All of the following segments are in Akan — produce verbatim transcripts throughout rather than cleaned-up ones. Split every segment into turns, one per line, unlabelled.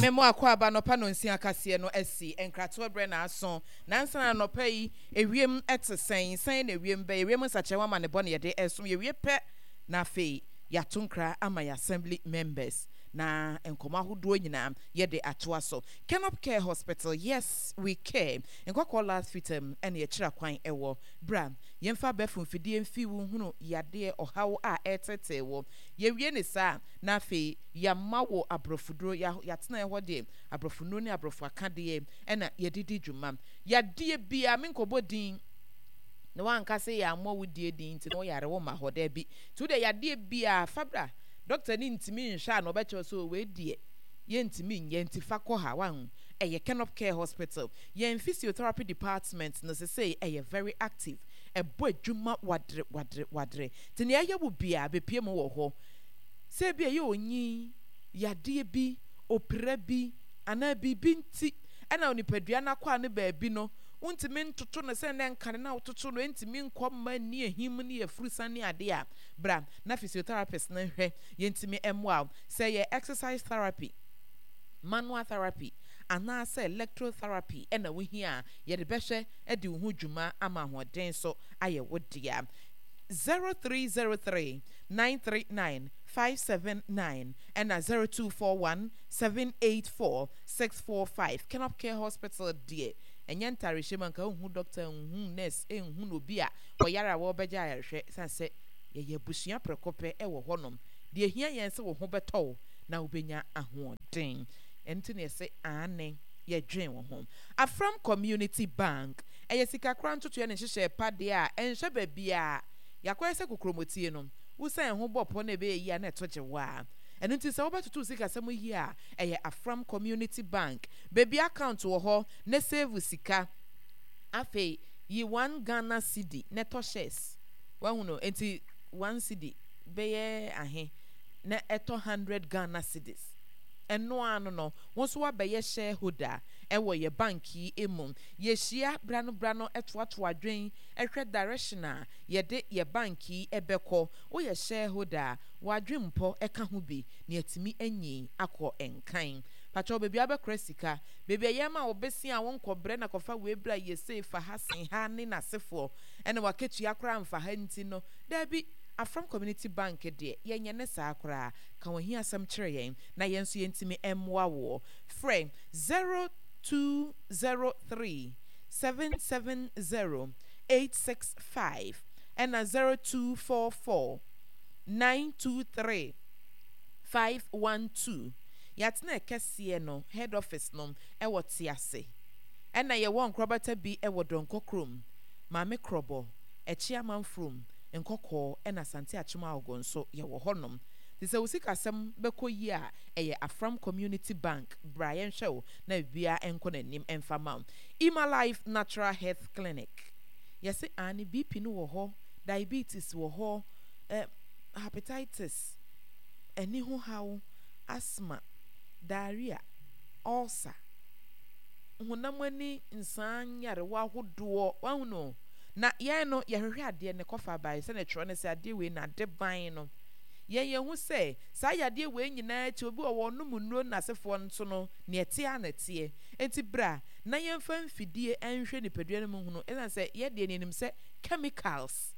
Memo akɔ aba nɔpa no nsia kaseɛ no asi nkratoɔ berɛ na aso nansa na nɔpa yi ewiem ɛte sɛn sɛn na ewiem bɛyɛ ewiem nsakyerɛ ama ne bɔ ne yɛde ɛsom yɛwie pɛ na afei yɛato nkra ama yɛ assembly members na nkɔmɔ ahodoɔ nyinaa yɛde atoa so. Kenop Care Hospital, yes we care. Nkɔkɔɔ last fitam ɛne yɛkyerɛ kwan ɛwɔ bra yɛmfa abɛɛfo mfidie mfi wo hunu yadeɛ ɔhaw a ɛtetee wɔ yɛwie ne saa na afei yɛama wo aborɔfoduro. Yɛatena hɔ deɛ aborɔfo ne aborɔfo akadeɛ ɛna yɛde di dwuma. Yadeɛ bia menkɔbɔ din na wanka sɛ yɛ ammɔ wo die din nti na woyare wo ma hɔ daabi. Nti wode yadeɛ bia fabra dɔkta ne ntumi nhwɛ a na ɔbɛkyerɛ sɛ wei deɛ yɛntumi nyɛ nti fa kɔ ha wahu. Ɛyɛ Kenop Care Hospital. Yɛn physiotherapy department no sesei ɛyɛ very active, ɛbɔ adwuma wadere wadere wadere. Nti nea ɛyɛ wo bia bɛpie mu wɔ hɔ sɛ bi ɛyɛ onyin yadeɛ bi opira bi anaa biribi nti ɛna onipadua no akɔ a ne baabi no wontumi ntoto no sɛ ne nkane na wototo no ntumi nkɔ mma ni ehim ne afurusa ne adeɛ a bra na physiotherapist no hwɛ yɛntumi mmoa wo sɛ yɛ exercise therapy, manual therapy anaasɛ electrotherapy ɛna wohia a yɛde bɛhwɛ de wo ho dwuma ama ahoɔden so ayɛ wo dea. zero three zero three nine three nine five seven nine ɛna zero two four one seven eight four six four five. Kenop Care Hospital deɛ ɛnyɛ ntarehyɛ mu anka wohu doctor nhu nurse nhu no obi a wɔyare a wɔrebɛgye ayarehwɛ san sɛ yɛyɛ abusua prɛko pɛ ɛwɔ hɔnom. Deɛ hia yɛn sɛ wo ho bɛtɔ wo na wobɛnya ahoɔden ɛno nti na yɛsɛ aane yɛdwen wo ho. Afram Community Bank ɛyɛ sikakora ntotoɛ ne nhyehyɛ pa deɛ a ɛnhyɛ baabi a yɛakɔyɛ sɛ kokromɔtie no wosan ho bɔ pɔ na ɛbɛyɛ yie a na ɛto gye wo a ɛno nti sɛ wobɛtoto sikasɛm yie a ɛyɛ Afram Community Bank. Baabi account wɔ hɔ na save sika. Afei yi one Ghana cedi na ɛtɔ shares wahu no nti one cedi bɛyɛ ahe na ɛtɔ hundred Ghana cedis ɛno ano no wɔn nso wabɛyɛ shareholder ɛwɔ yɛ bank yi mu. Yɛhyia brano brano ɛtoatoa adwen ɛhwɛ direction a yɛde yɛ bank yi ɛbɛkɔ. Woyɛ shareholder a wadwen mpɔ ɛka ho bi na yɛtumi anyi akɔ nkan patwɛ baabi abɛkora sika baabi a yɛma wo bɛsi a wɔnkɔbrɛ na kɔfa wei bra yɛsei fa ha sen ha ne n'asefoɔ ɛna wakatua koraa mfa ha nti no daabi. Afram Community Bank deɛ yɛnyɛ ne saa koraa. Ka wɔn hi asɛm kyerɛ yɛn na yɛn nso yɛntumi mmoa woɔ. Frɛ zero two zero three seven seven zero eight six five ɛna zero two four four nine two three five one two. Yɛatena kɛseɛ no head office no ɛwɔ Tease ɛna yɛwɔ nkorabata bi ɛwɔ Dɔnkɔ kurom, Maame Korɔbɔ ɛkyi amanfurom Nkɔkɔɔ ɛna Asante Akyem Agogo nso yɛwɔ hɔnom. Te sɛ wo sikasɛm bɛkɔ yie a ɛyɛ Afram Community Bank. Bra yɛnhwɛ wo na biribiara nkɔ n'anim ɛmfa ma wo. Ima Life Natural Health Clinic yɛse ane B P no wɔ hɔ, diabetes wɔ hɔ, eh, hepatitis, ɛni ho haw, asthma, diarrhea, ulcer, honam ani nsaa nyarewa ahodoɔ wahu no na yɛn no yɛhwehwɛ adeɛ ne kɔfa bae sɛdeɛ twerɛ no sɛ adeɛ wei na ade ban no yɛn yɛn ho sɛ saa yadeɛ wei nyinaa akyi obi wɔ wɔn nom nnuro n'asefoɔ nso no nea ɛteɛ a na ɛteɛ nti bra na yɛmfa mfidie nhwɛ nipadua no mu hunu ɛsiane sɛ yɛdeɛ ne yɛnim sɛ chemicals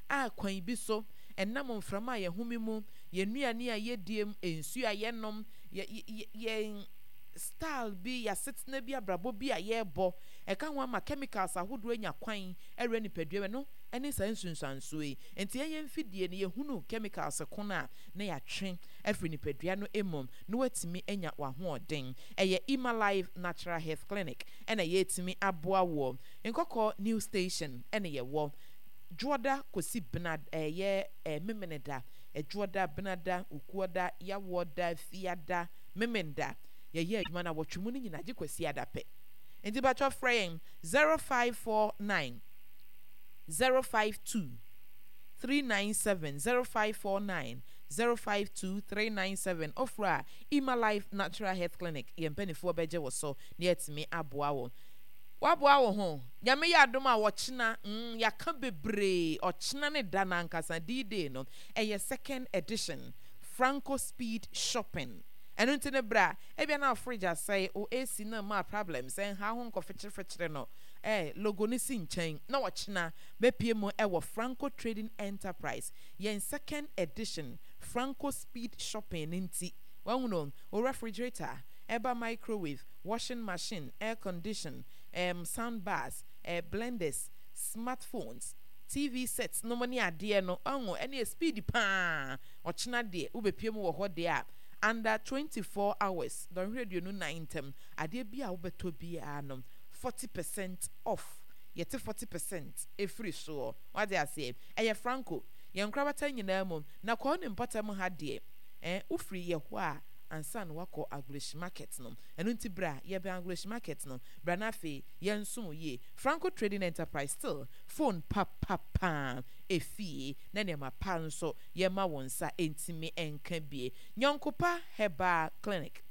a kwan bi so ɛnam mframa a yɛhome mu, yɛn nnuane a yɛdie mu, nsuo a yɛnom, yɛ yɛn style bi, yɛasetena bi, abrabɔ bi a yɛrebɔ ɛka ho ama chemicals ahodoɔ anya kwan ɛwura nipadua mu no ɛne saa nsunsuansoɔ yi. Nti yɛn mfidie no yɛhunu chemicals ko no a na yɛatwe afiri nipadua no mu na watumi anya w'ahoɔden. Ɛyɛ Ima Life Natural Health Clinic ɛna yɛtumi aboa wɔ Nkɔkɔ New Station ɛna yɛwɔ Dwoɔda kɔsi bena ɛyɛ ɛɛ Memeneda, Ɛdwoɔda, Benada, Ukuoda, Yawoɔda, Fiada, Memenda yɛyɛ adwuma no awɔtwe mu no nyinaa gye Kwasi ada pɛ. Nti batwɔ frɛ yɛn zero five four nine zero five two three nine seven, zero five four nine zero five two three nine seven. Ofra a Ima Life Natural Health Clinic yɛn mpanimfoɔ bɛgye wɔ so na yɛatumi aboa wo waboa wo ho. Nyame yɛ adom a wɔkyena mm, yɛaka bebree. Ɔkyena ne da no ankasa D-Day no ɛyɛ second edition Franco Speed Shopping. Ɛno nti no bra, ebia na wo fridge asɛe, wo A C no ma problems, ɛnha ho nkɔfekyerefekyere no, eh, logo no si nkyɛn na wɔkyena bɛpie mu ɛwɔ Franco Trading Enterprise. Yɛn second edition Franco Speed Shopping no nti, wahu no, wo refrigerator, ɛba microwave, washing machine, air condition, um, sound bars, eh, blenders, smartphones, T V sets no mo ne adeɛ no ɔho ɛne speed paa. Ɔkyena deɛ wobɛpie mu wɔ hɔ deɛ a, under twenty-four hours, dɔnhwere aduonu nan ntam, adeɛ bi a wobɛtɔ biara no, forty percent off. Yɛte forty percent ɛfiri soɔ. Wade aseɛ, ɛyɛ Franco yɛn nkorabata nyinaa mu na kɔɔ ne mpɔtam ha deɛ, eh, wofiri yɛ hɔ a ansa na wakɔ Agloshie Market no. Ɛno nti bra, yɛbɛn Agloshie Market no. Bra na afei yɛnsom yie. Franco Trading Enterprise, still phone papapaa efie na nneɛma pa nso yɛma wɔn nsa ntumi nka bie. Nyɔnkopa Herbal Clinic,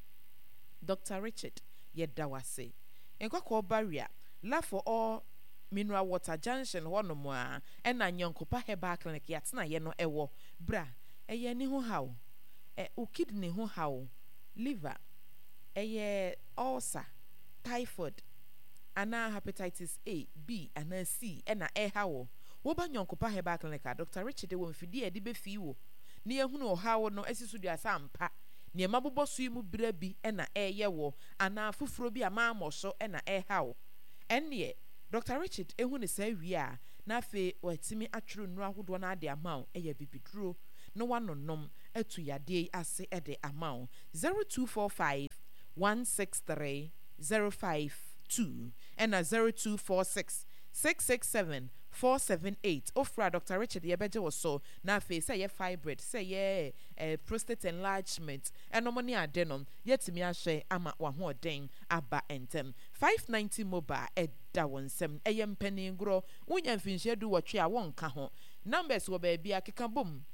Doctor Richard, yɛda wase. Nkɔkɔɔ Barrier, Love for All Mineral Water junction hɔnom a ɛna Nyɔnkopa Herbal Clinic yɛatena yɛ no ɛwɔ. Bra, ɛyɛ ani ho haw, ɛ wo kidney ho haw, liver, ɛyɛ ulcer, typhoid anaa hepatitis A, B anaa C ɛna ɛha wɔ, woba Nyɔnkopa Herbal Clinic a, Doctor Richard wɔ mfidie a yɛde bɛfii wo na yɛhunu ɔhaw no asi so dua sɛ ampa nneɛma bobɔ so yi mu berɛ bi ɛna ɛyɛ wɔ anaa foforɔ bi a maamɔ so ɛna ɛha wo. Ɛnneɛ Doctor Richard ehu ne saa wie a, na afei watumi atwerɛ nnuro ahodoɔ no ade ama wo. Ɛyɛ bibiduro na wanonom atu yadeɛ yi ase ɛde ama wo. zero two four five one six three zero five two ɛna zero two four six six six seven four seven eight. Ofra Doctor Richard, yɛbɛgye wo so. Na afei sɛ ɛyɛ fibroid, sɛ ɛyɛ eh, prostate enlargement ɛnom ne ade no, yɛtumi ahwɛ ama w'ahoɔden aba ntɛm. five ninety Mobile ɛda wɔn nsam. Ɛyɛ mpaningorɔ, wonya mfinhyia du wɔtwe a wɔnka ho. Numbers wɔ baabi a keka bom,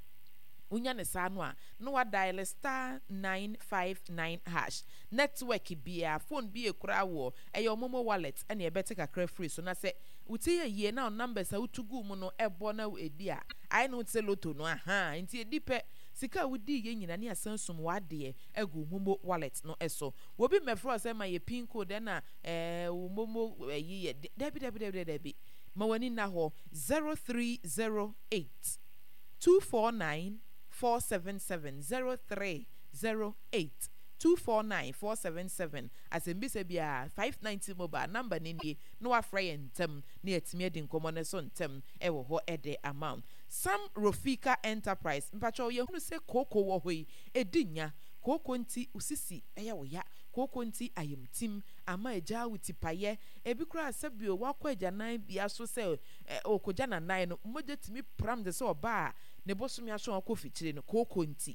wonya ne saa no a, na wadial star nine five nine hash. Network biara, phone bi ekura wɔ ɛyɛ MoMo wallet ɛna ɛbɛte kakra firi so. Na sɛ wotie yɛ yie na numbers a wotu gu mu no ɛbɔ na edi a, ayɛ ne ho te sɛ lotto no aha. Nti edi pɛ sika a wodi yɛ nyina ne asan sum w'adeɛ agu MoMo wallet no ɛso. Wobi mmɛfrɛ sɛ ma yɛ PIN code ɛna ɛɛ wo MoMo ɛyi yɛ. Dabi, dabi, dabi, dabi, ma w'ani na hɔ. zero three zero eight two four nine four seven seven, zero three zero eight two four nine four seven seven. Asɛmbisa biara, five ninety Mobile number ne nie na wafrɛ yɛn ntɛm na yɛatumi adi nkɔmmɔ no so ntɛm ɛwɔ hɔ ɛde ama wo. Sam Rofika Enterprise, mpakyɛw, yɛhunu sɛ kooko wɔ hɔ yi ɛdi nya. Kooko nti osisi ɛyɛ wo ya, kooko nti ayamtim ama agya wo tipayɛ. Ebi koraa sɛbio wakɔ agyanan bia so sɛ ɛ ɔkɔgya nanan no, mogya tumi pram de sɛ ɔbaa a ne bosome aso a ɔkɔ fikyire no. Kooko nti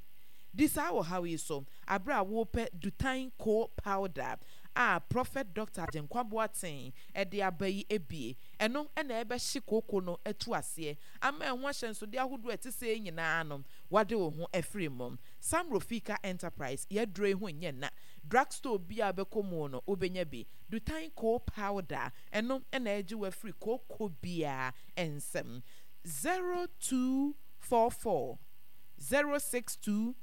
di saa wɔ haw yi so abere a wɔrepɛ Dutan Coal Powder a Prophet Doctor Agyenkwa Boateng ɛde aba yi ebie. Ɛno ɛna ɛbɛhye kooko no atu aseɛ ama ɛho ahyɛnsodeɛ ahodoɔ a ɛte sɛ nyinaa no wade wo ho afiri mu. Sam Rofika Enterprise, yɛaduro yi ho nyɛ na drugstore bi a bɛkɔ mu no wobɛnya bi. Dutan Coal Powder, ɛno ɛna ɛgye wo afiri kooko biara nsɛm. zero two four four zero six two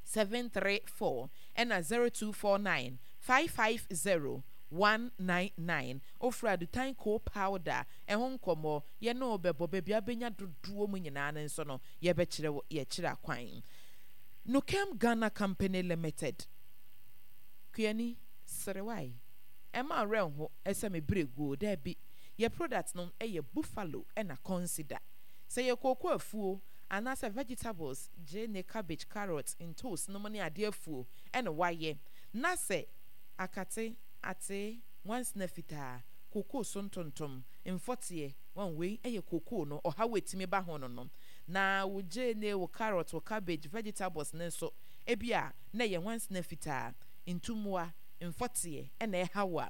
seven three four ɛna zero two four nine five five zero one nine nine. Ofura Dutan Coal Powder ɛho nkɔmmɔ, yɛne wo bɛbɔ baabi abɛnya dodoɔ mu nyinaa no nso no, yɛbɛkyerɛ wo yɛkyerɛ akwan. Nukem Ghana Company Limited, kuani serewae ɛma werɛ ho ɛsɛ me berɛ guo. Daabi, yɛ product no ɛyɛ Buffalo ɛna Consider sɛ yɛ kooko afuo anaasɛ vegetables, gyeene, cabbage, carrot, ntos nom ne adeɛ afuo ɛna wayɛ na sɛ akate ate nwansena fitaa, kookoo so ntontom, mfɔteɛ wɔn wei ɛyɛ kookoo no ɔhaw etimi ba ho no no na wo gyeene, wo carrot, wo cabbage, vegetables ne nso ebi a na ɛyɛ nwansena fitaa, ntummoa, mfɔteɛ ɛna ɛha wo a,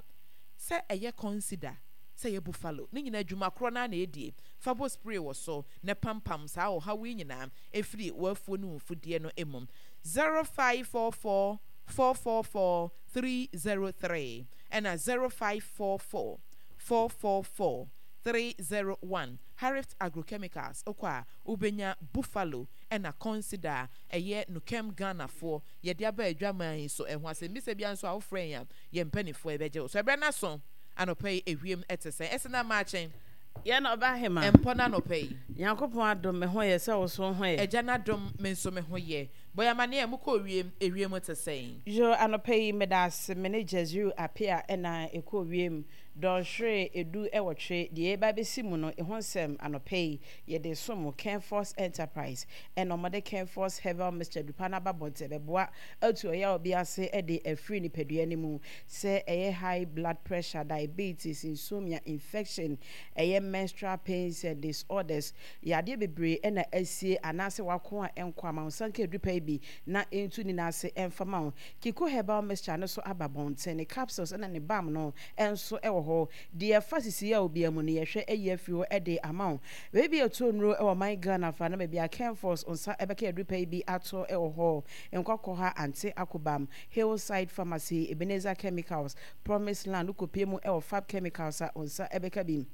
sɛ ɛyɛ Consider, sɛ ɛyɛ Buffalo ne nyinaa, adwuma korɔ naa na ɛdie. Fa bɔ spray wɔ so na pampam saa ɔhaw yi nyinaa ɛfiri w'afuo ne wo mfudeɛ no mu. zero five four four four four four three zero three ɛna zero five four four four four four three zero one Harift Agrochemicals wokɔ a wobɛnya Buffalo ɛna Consider a ɛyɛ Nukem Ghanafoɔ yɛde aba adwaman yi so. Ɛho asɛmmisa biara nso a wofrɛ yɛn a yɛn mpanimfoɔ yɛbɛgye wo so. Ɛberɛ no aso anɔpa yi ewiem ɛte sɛn? Ɛsɛ na maakye.
Yɛn ɔba hema.
Ɛmpɔ no anɔpa yi.
Nyankopɔn adom me ho yɛ sɛ wo so ho yɛ.
Agya no adom me nso me ho yɛ. Bɔyɛ amanneɛ a mokɔ wiem ewiem te sɛn?
Yo anɔpa yi meda ase me ne Jezreel Apea ɛna ɛkɔ wiem dɔnhwere edu ɛwɔtwe deɛ ɛba bɛsi mu no ɛho nsɛm anɔpa yi yɛde som Kenforce Enterprise ɛna ɔmɔde Kenforce Herbal Mixture dupa no aba bɔnten bɛboa atu ɔyɛ obi ase ɛde afiri nipadua no mu sɛ ɛyɛ high blood pressure, diabetes, insomnia, infection, ɛyɛ menstrual pains and disorders, yadeɛ bebree ɛna asie anaasɛ wako a ɛnkɔ ama wo nsa nka adupa yi bi na ɛntu ne n'ase ɛmfa ma wo. Kiko Herbal Mixture no so aba bɔnten, ne capsules ɛna ne balm no ɛnso ɛwɔ hɔ. Deɛ ɛfa sisi a obi mu no yɛhwɛ ayi afiri hɔ ɛde ama wo. Baabi a ɛtɔ nnuro ɛwɔ man Ghana fa na baabi a Kenforce nsa ɛbɛka adupa yi bi ato ɛwɔ hɔ. Nkɔkɔ ha Ante Akobam, Hillside Pharmacy, Ebenezer Chemicals, Promise Land, wokɔpie mu ɛwɔ Fab Chemicals a nsa ɛbɛka bi.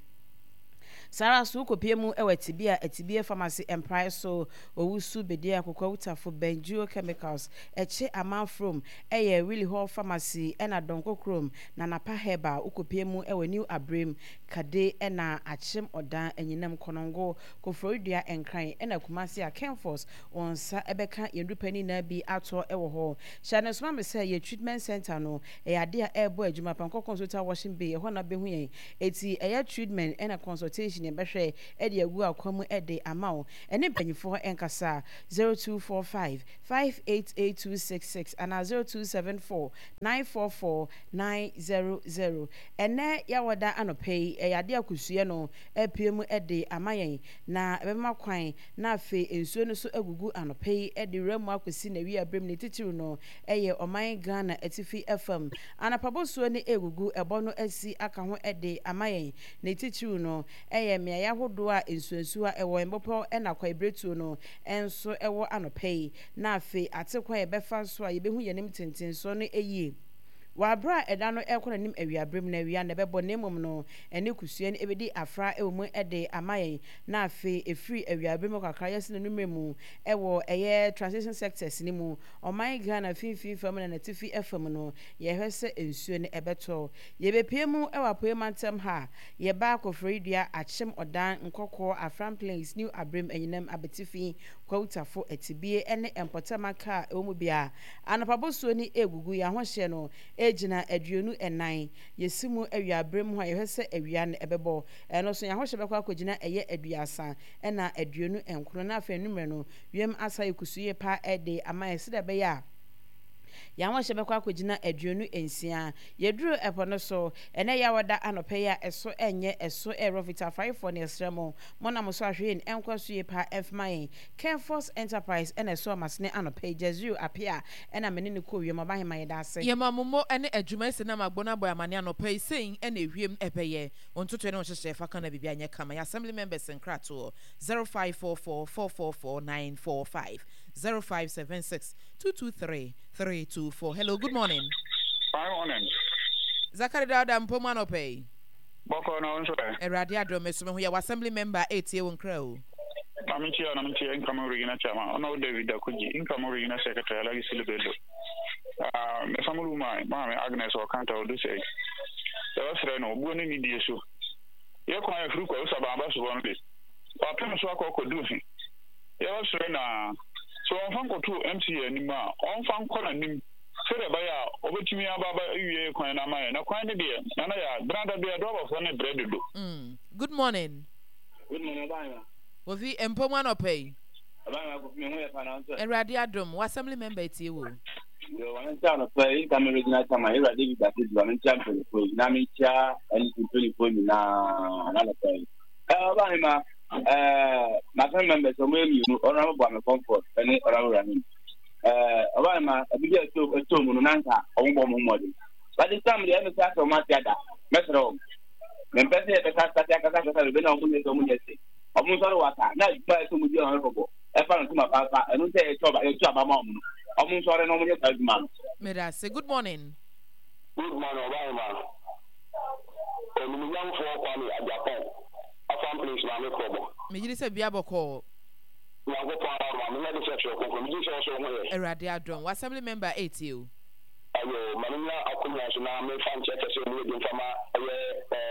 Saa so wokɔpie mu ɛwɔ Atibie a Atibie Pharmacy Mprae so Owusu Bedia Akokɔ Wutafo Benjuo Chemicals ɛkye Amanfrom ɛyɛ Willie Hall Pharmacy ɛna Dɔnko Kurom na Napa Herbal wokɔpie mu ɛwɔ New Abrem Kade ɛna Akyem Ɔdan Anyinam Kɔnɔngo Koforidua Nkran ɛna Kumasi a Kenforce wɔn nsa ɛbɛka yɛn dupa nyinaa bi atɔ ɛwɔ hɔ. Hyɛ ne soma me sɛ yɛ treatment center no ɛyɛ ade a ɛrebɔ adwuma Pankɔ Consultant Washing Bay ɛhɔ na bɛhu yɛn. Eti ɛyɛ treatment ɛna consultation yɛbɛhwɛ ɛde agu akwan mu ɛde ama wo. Ɛne mpanyinfoɔ ɛnkasa zero two four five five eight eight two six six ana zero two seven four nine four four nine zero zero. Ɛnɛ yɛawɔda anɔpɛ yi ɛyɛ ade akosua no apue mu ɛde ama yɛn na ɛbɛma kwan na afei nsuo no so agugu anɔpɛ yi ɛde wura mu akɔsi na wi abere mu ne titiri no ɛyɛ ɔman Ghana atifi fam. Anapabosuo ne egugu ɛbɔ no asi aka ho ɛde ama yɛn ne titiri no ɛyɛ mmeaeɛ ahodoɔ a nsuonsuo a ɛwɔ mbɔpɔ ɛna kwaebiretuo no ɛnso ɛwɔ anɔpɛ yi na afei ate kwan yɛbɛfa nso a yɛbɛhu yɛn anim tentensoɔ no ɛyie. Wɔ abere a ɛda no ɛkɔ n'anim awiabere mu na awia na ɛbɛbɔ na mmom no ɛne kusua no ɛbɛdi afra ɛwɔ mu ɛde ama yɛn na afei ɛfiri awiabere mu kakra yɛsi n'anumere mu ɛwɔ ɛyɛ transition sectors ne mu ɔman Ghana finfin fam na n'atifi fam no yɛhwɛ sɛ nsuo no ɛbɛtɔ. Yɛbɛpie mu ɛwɔ apoe mantam ha yɛba Koforidua Akyem Ɔdan Nkɔkɔɔ Afram Plains New Abrem Anyinam Abetifi Kwawutafo Atibie ɛne Mpɔtam kaa ɛwɔ mu bia anapabosuo ne egugu yɛn ahohyɛ no egyina aduonu ɛnan yɛsi mu awiabere mu a yɛhwɛ sɛ awia no ɛbɛbɔ ɛno nso yɛn ahohyɛ bɛkɔ akɔgyina ɛyɛ aduasa ɛna aduonu nkron na afei numere no wiem asa yɛ kusu yie pa ɛde ama yɛ sɛdeɛ ɛbɛyɛ a yɛn ahohyɛ bɛkɔ akɔgyina aduonu nsia. Yɛduru ɛpɔ no so ɛnɛ yɛ awɔda anɔpɛ yi a ɛso ɛnyɛ ɛso ɛrɔ fitafaefoɔ ne ɛsrɛ mo mo nam so ahwɛ yɛn ɛnkɔ so yie pa ɛmfama yɛn. Kenforce Enterprise ɛna ɛso amasene anɔpɛ yi Jezreel Apea ɛna mene ne kɔ wiem ɔbahema yɛda ase.
Yɛma mo mo ne adwuma esi nam agbo no abɔ amane anɔpa yi sɛn ɛna ewiem ɛbɛyɛ ntotoe ne nhyehyɛ fa ka na biribi anyɛ kama. Yɛ assembly members nkratoɔ zero five four four four four four nine four five zero five seven six two two three three two four. Hello, good morning.
Fine morning.
Zakari Dauda mpomu anɔpa yi.
Bɔkɔ na nso ɛ.
Awurade adom me so me ho yɛ wɔ assembly member etie wo nkra o.
Na me nkyia na me nkyia incoming regional chairman ɔno David Dakuji incoming regional secretary Alhaji Sulu Bello. Ah, me family woman maame Agnes Ɔkanta Odusɛ. Yɛbɛsrɛ no obuo ne nidie so. Yɛ kwan afiri kɔ Osaban aba sobɔ no de. Wapem so akɔ akɔdu he. Yɛbɛsrɛ na sɛ ɔmfa nkɔto M C anim a ɔmfa nkɔ n'anim sɛdeɛ ɛbɛyɛ a ɔbɛtumi aba aba awie kwan no ama yɛn na kwan no deɛ nana yɛ a benada bia dɔɔbafoɔ ne brɛ dodo.
Mm. Good morning.
Good morning, Ɔbaa.
Kofi mpomu anɔpa yi.
Ɔbaa Kofi me ho yɛ pa na nso.
Awurade adom wɔ assembly member etie wo.
Yo, wɔn nkyɛn anɔpa yi nka mi regional chairman Ewura David Akeju wɔn nkyɛn mpanyinfoɔ yi na mi nkyɛn N D C mpanyinfoɔ nyinaa n'anɔpa yi. Ɛɛ ɔbaa hema ɛɛ m'assembly members wɔn yɛ mmienu, Honourable Buame Comfort ɛne Honourable Rahim. Ɛɛ ɔbaa hema ebi bi ɛtɔ ɛtɔ mu no nanka wɔn bɔ wɔn ho mmɔden. But this time deɛ ɛmi sɛ asɛ wɔn ate ada mɛsrɛ wɔn. Mempɛ sɛ yɛbɛka kasa kasa kasa bebe na wɔn nyɛ sɛ wɔn nyɛ sɛ wɔn nsɔre waka na adwuma yɛ sɛ wɔn di wɔn kɔbɔ ɛfa no ntoma paapa ɛno sɛ yɛtu aba yɛtu aba ma wɔn no wɔn nsɔre na wɔn nyɛ saa adwuma no.
Medase. Good morning.
Good morning, Ɔbaa. Onimunyamfoɔ Kwame Agyapong. Afram Place Maame Krɔbɔ.
Megye sɛ bia bɔkɔɔ.
Nyankopɔn ara ma menya de sɛ twerɛ kronkron megye sɛ wo so wo ho yɛ.
Awurade adom. Wɔ assembly member etie o.
Ayo, ma menya akonnwa so na memfa nkyɛ kɛsɛ mu yɛ de mfa ma ɛyɛ ɛɛ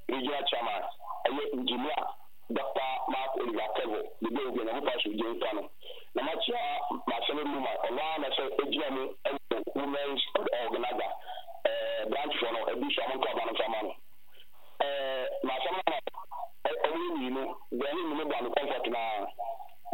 regional chairman ɛyɛ Engineer Doctor Mark Oliver Kevo de bɛ obi Nyankopɔn asomdwe nka no. Na makyia m'assembly woman ɔno ara na sɛ egyina mu ɛwɔ women's organizer ɛɛ branch foɔ no ebi so ɔmo nto aba no mfa ma no. Ɛɛ m'asɛm no ɔmo yɛ mmienu bɛn ne ne bɔ ame comfort na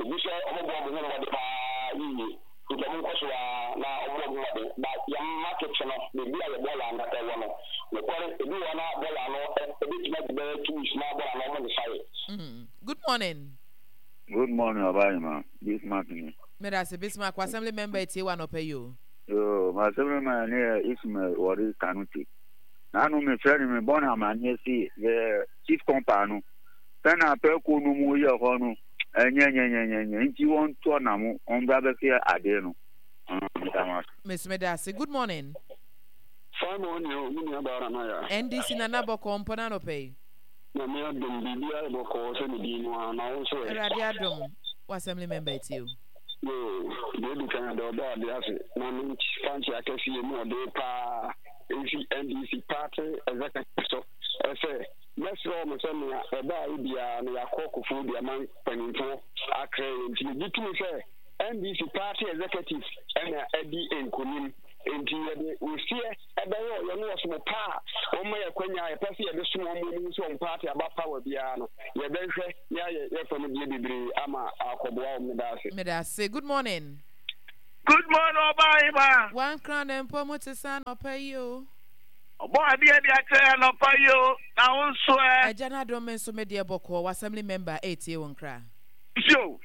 ebi sɛ ɔmo bɔ ɔmo ho mmɔden paa yie nti ɔmo nkɔ so a na ɔmo bɔ ɔmo ho mmɔden ba yɛn market no beebi a yɛ bɔɔla no ɛwɔ no nokware ebi wɔ na bɔɔla no ebetumi agye bɛyɛ two weeks na bɔɔla no ɔmo nsa yɛ.
Good morning.
Good morning, Obayima. Bismarck ni.
Medase Bismarck, assembly member etie wa anɔpa yi o.
Yo, my assembly man ni Ismail Wari Kanute. Nanu mi fɛ ni mi bɔ na ma nye si yɛ chief compa no. Sɛnɛ apɛ ko no mu yɛ hɔ no ɛnyɛ nyɛ nyɛ nyɛ nyɛ nti wɔn tɔ na mo wɔn bra bɛ fi ade no.
Miss Medase, good morning.
Fine morning, o mi nua baara na ya.
N D C Nana Bɔkɔ mpɔ na anɔpa yi.
Na mi adum biribi ayɛ bɔkɔɔ sɛ ne din no a na wo nso ɛ.
Awurade adom, wɔ assembly member etie o.
Yoo, deɛ edi kan de ɔbɔ ade ase na me fa nkyia kɛseɛ mu ɔde paa nsi N D C party executive so ɛsɛ mɛsrɛ wɔn sɛ nea ɛbaa yi biara no yɛakɔ kofuo de ama mpanimfoɔ akrɛ yɛn nti megye tumi sɛ N D C party executive ɛna ɛdi nkonim nti yɛde oseɛ ɛbɛyɛ ɔyɛ no wɔsom paa a wɔma yɛ kwanya a yɛpɛ sɛ yɛde som wɔn mu sɛ wɔn party aba power biara no yɛbɛhwɛ ne ayɛ yɛfam deɛ bebree ama akɔboa wɔn. Meda ase.
Medase, good morning.
Good morning, Obayima.
One crown mpo mo te sa anɔpa yi o.
Ɔbɔ adeɛ de akyerɛ anɔpa yi o, na wo nso ɛ.
Agya no adom, me nso me deɛ bɔkɔɔ. Wɔ assembly member etie wo nkra.
Yo,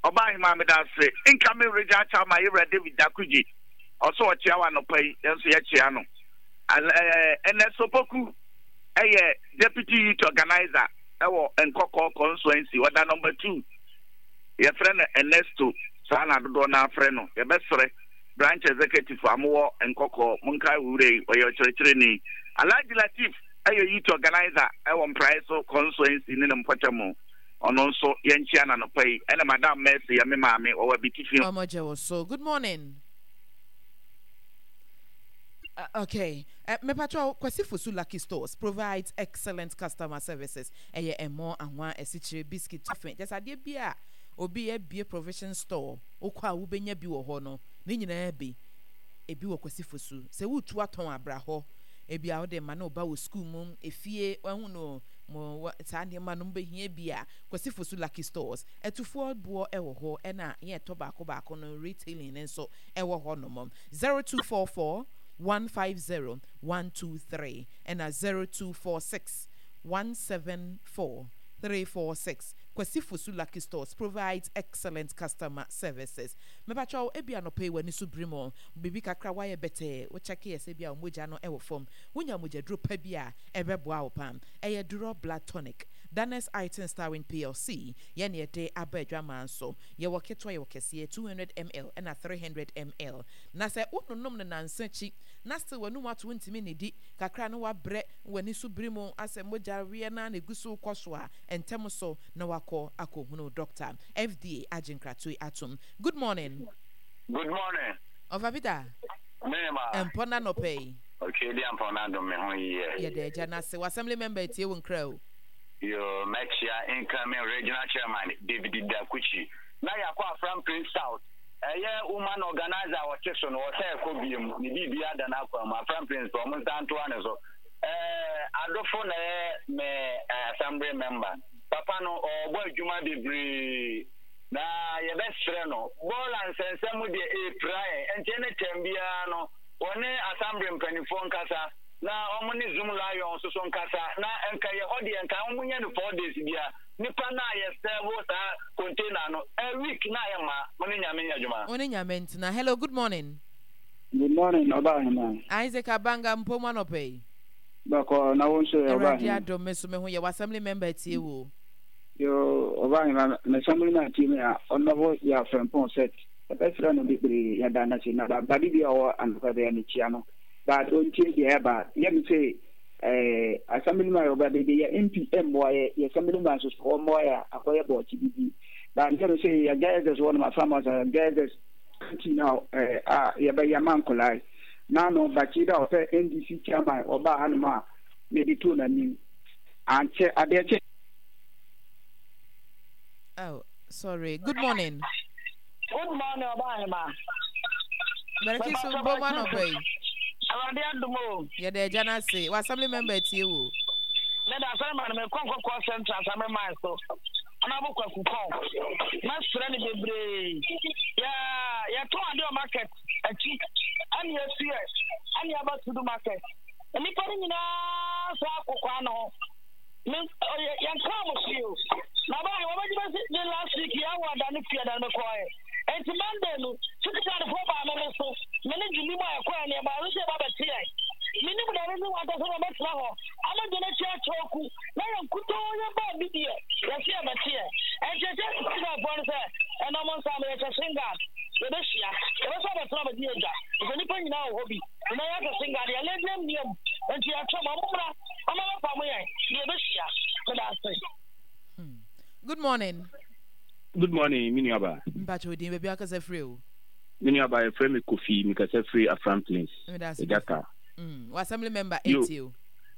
Ɔbaahema, meda ase. Incoming regional chairman Yewura David Dakuji, ɔso ɔkyea wɔ anɔpa yi, yɛn nso yɛkyea no. Ɛnɛ Sopoku ɛyɛ deputy youth organizer ɛwɔ Nkɔkɔɔ constituency, ɔda number two. Yɛfrɛ no Ernesto, saa na dodoɔ no afrɛ no. Yɛbɛsrɛ branch executive a mowɔ Nkɔkɔɔ, monkae wo werɛ yi, ɔyɛ ɔkyerɛkyerɛni. Alhaji Latif ɛyɛ youth organizer ɛwɔ Mprae so constituency ne ne mpɔtam, ɔno nso yɛnkyia n'anɔpa yi. Ɛna Madam Mercy yɛ me maame, ɔwɔ Abitifi.
Ɔmo gye wo so. Good morning. Uh, okay. Uh, Mepatro Kwasi Fosu Lucky Stores provides excellent customer services. Ɛyɛ ɛmo, anwa, esikyire, biscuit, toffee. Just adeɛ bi a obi abie provision store wokɔ a wobɛnya bi wɔ hɔ no ne nyinaa bi ebi wɔ Kwasi Fosu. Sɛ wotu atɔn abra hɔ ebi a wode ma ne ɔba wɔ school mu efie wahu no mo saa nneɛma no mbɛhia bi a Kwasi Fosu Lucky Stores ɛtufoɔ boɔ ɛwɔ hɔ ɛna yɛn ɛtɔ baako baako no retailing ne nso ɛwɔ hɔ nom. zero two four four one five zero one two three ɛna zero two four six one seven four three four six. Kwasi Fosu Lucky Stores provides excellent customer services. Mepakyɛw, ebi anɔpɛ yi w'ani so biri mu biribi kakra wayɛ bɛtɛɛ wokyɛke yɛ sɛ bi a mogya no ɛwɔ fam wonya mogyaduro pa bi a ɛbɛboa wo pam ɛyɛ Duro Blood Tonic. Danes Iton Starwin P L C yɛne yɛde aba adwamaa nso yɛwɔ ketewa, yɛwɔ kɛseɛ two hundred milliliters ɛna three hundred milliliters na sɛ wononom no nansa akyi na still w'anum ato wontumi nnidi kakra no wabrɛ w'ani so biri mu asɛ mogya weɛ na na egu so kɔ so a ntɛm so na wakɔ akɔhunu doctor. F D A agye nkratoe atom. Good morning.
Good morning.
Ɔfa Peter.
Mema.
Mpɔ na nɔpɛ yi.
Okay, di ampɔ na dom me ho yie.
Yɛda agya no ase. Wɔ assembly member etie wo nkra o.
Yo, mɛkyia incoming regional chairman David Dakuchi. Na yɛakɔ Afram Plains South. Ɛyɛ woman organizer a ɔte so no ɔsɛ ɛkɔ biem ne biribi ada no akwan mu. Afram Plains pɛ ɔmo nsa ntoa ne so. Ɛɛ adofo na ɛyɛ me assembly member. Papa no ɔrebɔ adwuma bebree na yɛbɛsrɛ no bɔɔla nsɛnsɛm deɛ ɛpira yɛn nti ɛne tɛm biara no wɔne assembly mpanimfoɔ nkasa na wɔn ne Zoom Lion nso so nkasa na nka yɛ hɔ deɛ nka wɔn nyɛ no four days bia nipa na yɛ sɛbo saa container no a week na yɛ ma mo ne Nyame nyɛ adwuma.
Wo ne Nyame ntena. Hello, good morning.
Good morning, Ɔbaahema.
Isaac Abanga, mpom anɔpɛ yi.
Bɔkɔ na wo nso yɛ
Awurade
Ɔbaahema.
Adom, me so me ho yɛ. Wɔ assembly member tie wo.
Yo, Ɔbaahema, m'assembly man tie me a ɔnɔfo yɛ afrɛmpɔn set. Ɛbɛsrɛ no bebree yɛda no ase na bade bi a ɔwɔ anɔpa bɛyɛ no kyia no. But ɔntie deɛ ɛba. Yɛ me sɛ Eh, assembly man ɔba beebi yɛ M P mmoa yɛ yɛ assembly man nso so ɔmmoa yɛ akɔyɛ bɔɔkye bibi ba ntɛm sɛ yɛ J S S wɔ no ma fama sɛ J S S ti na ɛɛ a yɛbɛyɛ ama nkɔlaa yi naano bakyi da ɔsɛ N D C chairman ɔbaa hanom a mede too n'anim ankyɛ adeɛ kyɛ.
Oh, sorry. Good morning.
Good morning, Ɔbaahema.
Mɛrɛki so mbɔ mu anɔpa yi.
Awurade adom o.
Yɛda agya no ase. Wɔ assembly member tie wo.
Meda assembly man mekɔ Nkɔkɔɔ Central assembly man so. Honorable Kwaku Kɔn. Mɛsrɛ no bebree. Yɛ yɛtɔn ade wɔ market akyi. Ɛne yɛsu yɛ. Ɛne yɛaba Tudu market. Nnipa no nyinaa saa akokɔ ano ho. Me ɔyɛ yɛnka mo hwee o. Na baa wɔbɛgye bɛsi de last week yɛawɔ ada no fie ada no mekɔɛ. Nti Monday no, sikitarefoɔ baa me me so. Me ne Julie mu a yɛkɔɛ no yɛbaa no sɛ yɛba bɛte yɛn. Menim da ne wanta sɛ wɔbɛtena hɔ. Ama gye n'akyi akyerɛ na yɛn nkutoo yɛbaa bi deɛ yɛse yɛbɛte yɛn. Ɛnti ɛkyɛ sikitarefoɔ no sɛ ɛnɔ mo nsa no yɛhyɛ shin guard. Yɛbɛhyia. Yɛbɛsɛ bɛtena bɛgye yɛ dwa. Sɛ nnipa nyinaa wɔ hɔ bi. Na yɛahyɛ shin guard yɛlɛ mmiam. Nti yɛatwa mo ɔmo mmra. Ɔmo bɛpa mo yɛn. Na yɛbɛhyia. Meda ase.
Good morning.
Good morning, me nuaba.
Mpakyɛ odin baabi akasa firi o.
Me nuaba, yɛfrɛ me Kofi, mekasa firi Afram Plains.
Meda ase.
Ɛgyata.
Mm, wɔ assembly member
Yo.
etie o.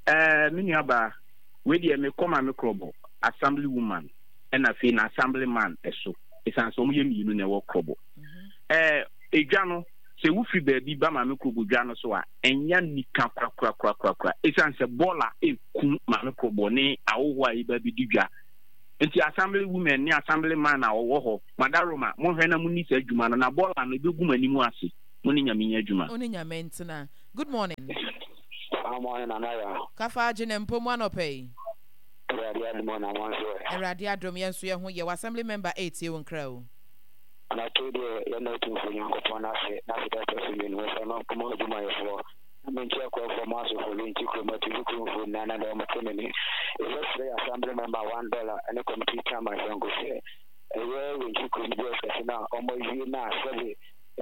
Ɛɛ, me nuaba, wei deɛ mekɔ ma me Krɔbɔ assembly woman ɛna afei na assembly man ɛso. Ɛsiane sɛ wɔn yɛ mmienu na ɛwɔ Krɔbɔ. Ɛɛ, edwa no sɛ wofiri baabi ba Maame Krɔbɔ dwa no so a, ɛnya nika korakorakorakora. Ɛsiane sɛ bɔɔla eku Maame Krɔbɔ ne ahohoɔ a yɛba bi di dwa. Nti assembly women ne assembly man a ɔwɔ hɔ, madaroma, monhwɛ na monni saa adwuma no na bɔɔla no ebɛgu mo anim ase. Mo ne Nyame nyɛ adwuma.
Wo ne Nyame ntena. Good morning.
Good morning, Nana.
Kafa agye ne mpo mu anɔpa yi.
Awurade adom na mo nso ɛ.
Awurade adom yɛn nso yɛn ho yɛ. Wɔ assembly member etie wo nkra o.
Anɔpa yi deɛ yɛna Otumfoɔ Nyankopɔn n'ase n'ase da ɛtɔ so mmienu wɔfa no ɔmo adwumayɛfoɔ na menkyɛ akɔfoɔ mo asofo bi nti kurom atifi kuromfoɔ nyinaa na deɛ ɔmo te me ne yɛbɛsrɛ yɛ assembly member one dollar ɛne committee chairman sɛ sɛ ɛyɛ Wenchi kurom J S S no a ɔmo awie no a sɛbe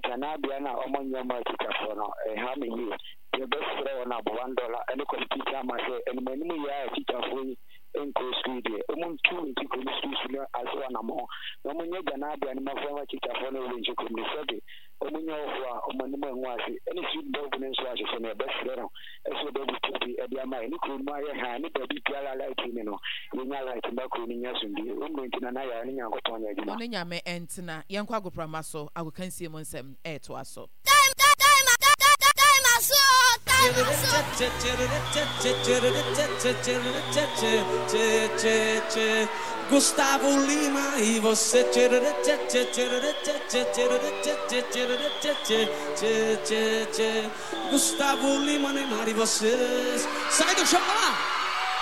gyanabea no a ɔmo nyɛ mo atikyafoɔ no ɛha me yie. Yɛbɛsrɛ wɔn abɔ one dollar ɛne committee chairman sɛ anim anim yɛ a atikyafoɔ yi nkɔ sukuu deɛ ɔmo ntu Wenchi kurom sukuu so no ase anammɔn na ɔmo nyɛ gyanabea no mɔfra ma atikyafoɔ no wɔ Wenchi kurom no sɛbe ɔmo nyɛ ɔfoɔ a ɔmo anim angu ase ɛne street bulb no nso ahyehyɛ no yɛbɛsrɛ no ɛsɛ ɔbɛbutu bi ɛde ama yɛ ne kurom mu ayɛ ha ne baabi biara light ni no yɛnya light ma kuro no nya asomdwie wɔmmere nti na na yɛa ne Nyankopɔn nyɛ adwuma.
Wo ne Nyame ntena. Yɛnkɔ agoprama so agokansie mu nsɛm ɛɛtoa so.
Time, time, time, time, aso, time, aso.
Gusttavo Lima e você. Gusttavo Lima, Neymar e você. Sai do chão lá!